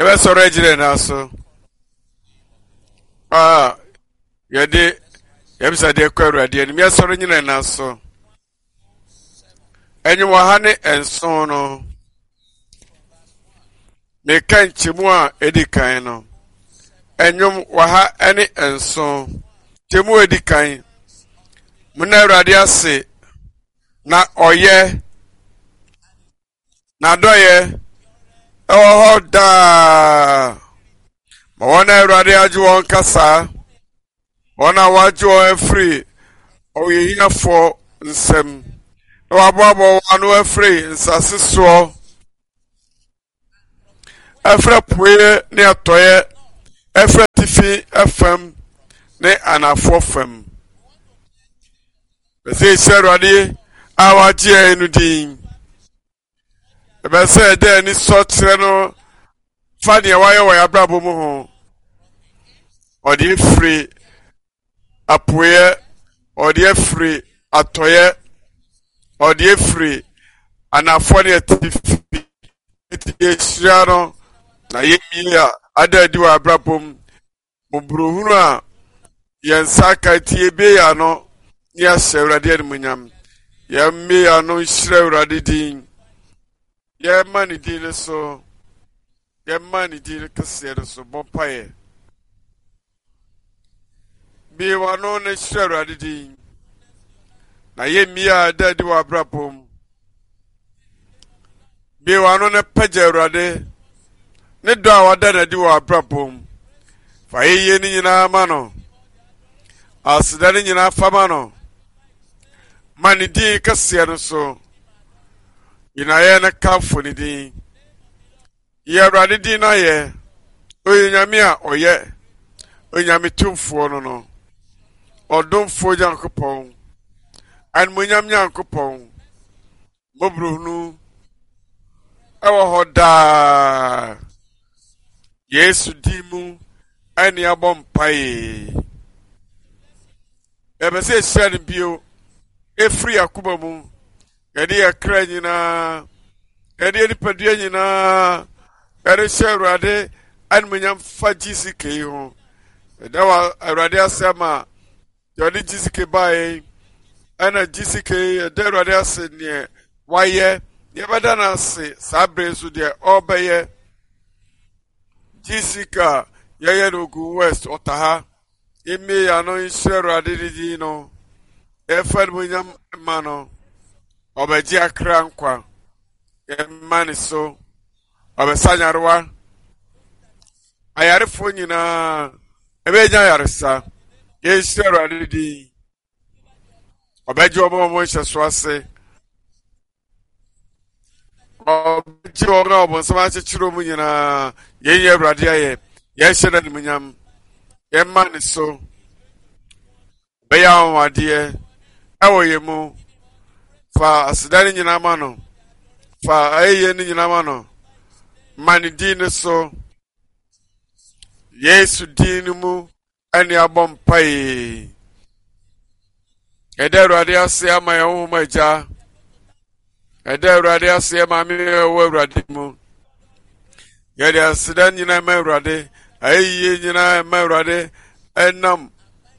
Yɛbɛsɔre agyina yɛn nan so a yɛde yɛbisadeɛ kɔ Awurade anim. Yɛsɔre nyina yɛn nan so. Ɛnwom ɔha ne nson no, meka nkyɛmu a ɛdi kan no. Ɛnwom 107, nkyɛmu a ɛdi kan. Monna Awurade ase na ɔyɛ N'adɔeɛ wɔ hɔ daa ma wɔn a Awurade agye wɔn kasa, wɔn a wɔagye wɔn afiri ɔyɛhiafoɔ nsam, na wɔaboaboa wɔn ano afiri nsase soɔ, afiri apueɛ ne atɔeɛ, afiri atifi fam ne anafoɔ fam. Ɛsɛ yɛhyira Awurade a wagye yɛn no din. Ɛbɛsɛ sɛ yɛda ani sɔ kyerɛ no fa nea wayɛ wɔ yɛn abrabɔ mu ho. Ɔde afiri apueɛ, ɔde afiri atɔeɛ, ɔde afiri anafoɔ ne atifi. Enti yɛhyira no na yɛmmie a ada adi wɔ abrabɔ mu. Mmɔborɔhunu a yɛn nsa aka nti yɛbue yɛn ano ne yɛahyɛ Awurade animuonyam. Yɛmmue yɛn ano nhyira Awurade din. Yɛmma ne din no so. Yɛmma ne din no kɛseɛ no so. Bɔ mpaeɛ. Bue w'ano na hyira Awurade din. Na yɛmmie a ɛda adi wɔ abrabɔ mu. Bue w'ano na pagya Awurade ne dɔ a wada no adi wɔ abrabɔ mu. Fa ayɛyie no nyinaa ma no. Aseda no nyinaa fa ma no. Ma ne din kɛseɛ no so. Nyinayɛ no kamfo ne din. Yɛ Awurade din no ayɛ. Ɔyɛ Nyame a ɔyɛ. Onyame tumfoɔ no no. Ɔdomfoɔ Nyankopɔn. Animuonyam Nyankopɔn. Mmɔborɔhunu wɔ hɔ daa. Yesu din mu ɛne abɔ mpae. Yɛpɛ sɛ yɛhyira no bio ɛfiri akoma mu. Yɛde yɛ kra nyinaa, yɛde yɛ nipadua nyinaa, yɛde hyɛ Awurade animuonyam fa GCK yi ho. Yɛda wɔ Awurade ase ama Deɛ ɔde GCK baeɛ yi, ɛna GCK yɛda Awurade ase neɛ wayɛ, yɛbɛda no ase saa bere nso deɛ ɔrebɛyɛ. GCK a yɛyɛ no Ogun West ɔta ha, yɛmmie yɛn ano nhyira Awurade ne din no, yɛmfa animuonyam mma no, ɔbɛgye akra nkwa, yɛmma ne so. Ɔbɛsa nyarewa. Ayarefoɔ nyinaa ɛbɛnya ayaresa. Yɛnhyira Awurade din. Ɔbɛgye wɔn a wɔn nhyɛso ase. Ɔbɛgye wɔn a wɔn nsɛm akyekyere wɔn nyinaa. Yɛnyɛ Awurade ayɛ. Yɛnhyɛ no animuonyam. Yɛmma ne so. Ɔbɛyɛ anwanwadeɛ ɛwɔ yɛn mu. Fa aseda no nyinaa ma no. Fa ayɛyie no nyinaa ma no. Ma ne din no so. Yesu din no mu ɛne abɔ mpae. Ɛda Awurade ase ama yɛn honhom agya. Ɛda Awurade ase maame ɛwɔ Awurade mu. Yɛde aseda nyinaa ma Awurade, ayɛyie nyinaa ma Awurade ɛnam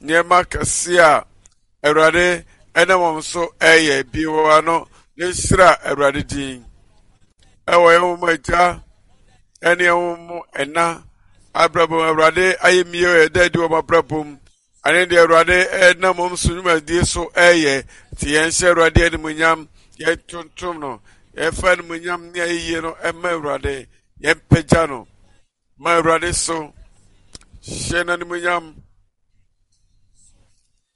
nneɛma kɛse a Awurade ɛnam wɔn so ɛyɛ bi wɔ ano ne nhyira Awurade din. Ɛwɔ yɛn wɔn agya ɛne yɛn wɔn ɛna abrabɔ Awurade ayɛ mie ɛda adi wɔn abrabɔ mu. Ɛne deɛ Awurade nam wɔn so nnwumadie so ɛreyɛ. Nti yɛnhyɛ Awurade animuonyam, yɛntontom no, yɛmfa animuonyam ne ayɛyie no ɛma Awurade, yɛmpagya no ma Awurade so, hyɛ no animuonyam.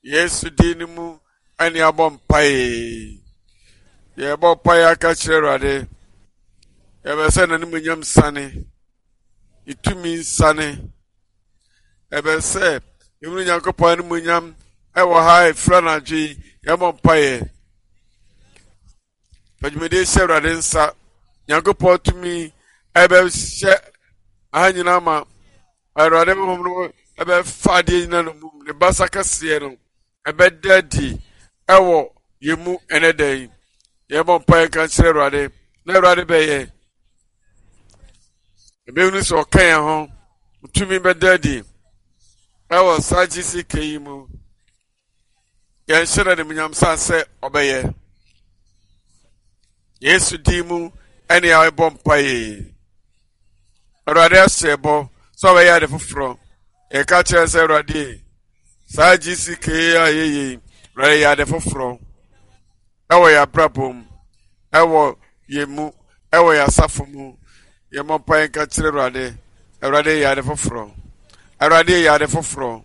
Yesu din no mu ɛne abɔ mpae. Yɛbɔ mpae aka kyerɛ Awurade. Yɛbɛ sɛ n'animuonyam sane, ne tumi nsane. Ɛbɛ sɛ yɛhunu Nyankopɔn animuonyam ɛwɔ ha ɛfiri anadwo yi yɛmmɔ mpaeɛ. Fa dwumadie hyɛ Awurade nsa. Nyankopɔn tumi ɛbɛhyɛ aha nyinaa ma Awurade honhom no ɛbɛfa adeɛ nyinaa no mu ne basa kɛseɛ no ɛbɛda adi ɛwɔ yɛn mu ɛnɛ da yi. Yɛmmɔ mpaeɛ nka nkyerɛ Awurade na Awurade bɛyɛ. Yɛbɛhunu sɛ ɔka yɛn ho. Tumi bɛda adi ɛwɔ saa GCK yi mu. Yɛnhyɛ no animuonyam sane sɛ ɔbɛyɛ. Yesu din mu ɛne yɛbɔ mpaeɛ. Awurade ahyɛ bɔ sɛ ɔbɛyɛ ade foforɔ. Yɛka kyerɛ sɛ Awurade saa GCK a yɛyɛ yi, Awurade yɛ ade foforɔ ɛwɔ yɛn abrabɔ mu, ɛwɔ yɛn mu, ɛwɔ yɛn asafo mu. Yɛmmɔ mpaeɛ nka kyerɛ Awurade. Awurade yɛ ade foforɔ. Awurade yɛ ade foforɔ.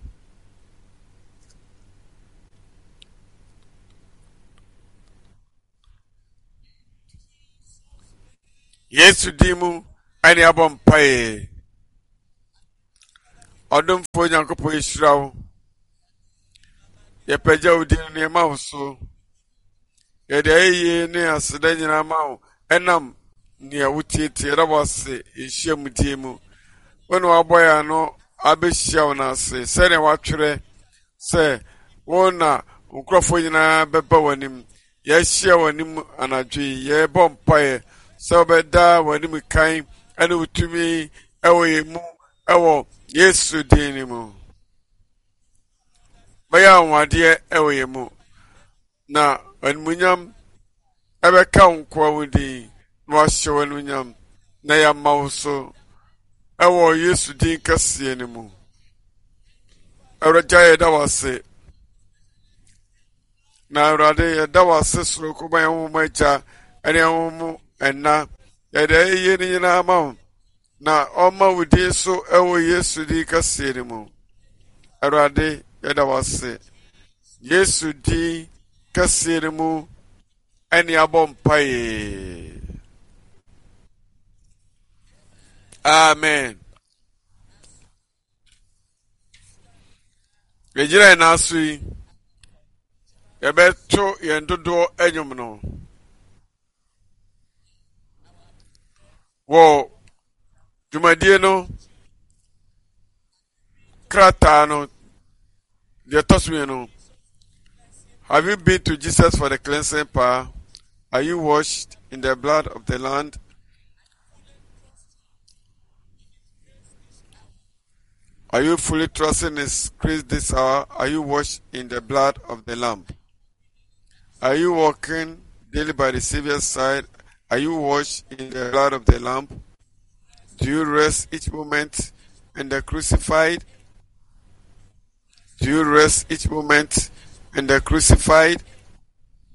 Yesu din mu ɛne abɔ mpaeɛ. Ɔdomfoɔ Nyankopɔn yɛhyira wo. Yɛpagya wo din no yɛma wo so. Yɛde ayɛyie ne aseda nyinaa ma wo ɛnam nea wotietie yɛda wo ase yɛhyia mu die mu. Wo na wabɔ yɛn ano abɛhyia wo no ase sɛnea watwerɛ sɛ wo na nkurɔfoɔ nyinaa bɛba w'anim. Yɛahyia w'anim anadwo yi, yɛrebɔ mpaeɛ sɛ wobɛda w'anim kan ne wo tumi ɛwɔ yɛn mu ɛwɔ Yesu din no mu. Bɛyɛ anwanwadeɛ ɛwɔ yɛn mu na animuonyam ɛbɛka wo nkoa wo din na wahyɛ wo animuonyam na yɛama wo so ɛwɔ Yesu din kɛseɛ no mu. Awurade yɛda wo ase. Na Awurade yɛda wo ase soronko ma yɛn honhom agya ne yɛn honhom ɛna. Yɛde ayɛyie no nyinaa ma wo na ɔma wo din so ɛwɔ Yesu din kɛseɛ no mu. Awurade yɛda wo ase. Yesu din kɛseɛ no mu ɛne abɔ mpaeɛ. Amen. Yɛgyina yɛn nan so yi, yɛbɛto yɛn dodoɔ nnwom no. Wɔ dwumadie no krataa no deɛ ɛtɔ so mmienu have you been to jesus for the cleansing power are you washed in the blood of the land Are you fully trusting His grace this hour? Are you washed in the blood of the Lamb? Are you walking daily by the Savior's side? Are you washed in the blood of the Lamb? Do you rest each moment in the crucified? Do you rest each moment in the crucified?